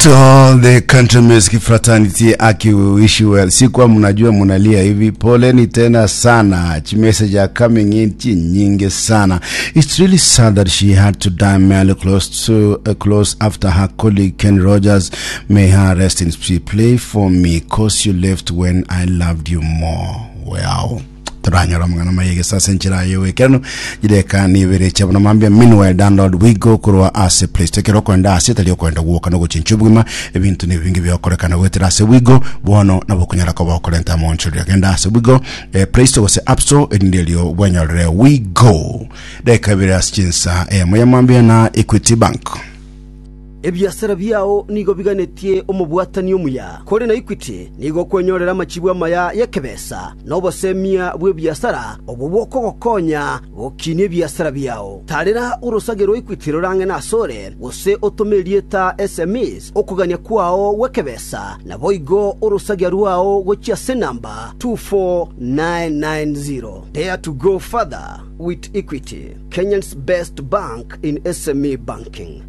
To all the country music fraternity, aki we wish you well. Sikuwa mnajua mnalia hivi, poleni tena sana. Chi message are coming in chi nyingi sana. It's really sad that she had to die merely close to close after her colleague Ken Rogers. May her rest in peace. Play for me, cause you left when I loved you more. Wow. Toranyora amang'ana maye gesase enchera aye goekeranu chideka nibere chia buna mambia meanwhile download wigo korwa ase play store ekero okoenda ase tari okoenda gwoka nogochincha obogima ebinto nebinge biokorekana goetera ase wigo bono nabo okonyara koba okorenta amonchoria genda ase wigo eh, play store gose app store erinde erio bwenyorere wigo deka ibere ase chinsa eyemo ya mambia na equity bank Ebiasara biao nigo biganetie omobwatani omuya. Kore na Equity nigo okwenyorera amachibu amaya y'ekebesa na obosemia bw'ebiasara obwo bokogokonya gokinia ebiasara biao. Tarera orosage rwa Equity rore ang'e nasore, gose otome erieta SMEs okogania kwao gw'ekebesa, naboigo orosagia rwao gochia ase enamba 24990. Dare to go further with Equity, Kenya's best bank in SME banking.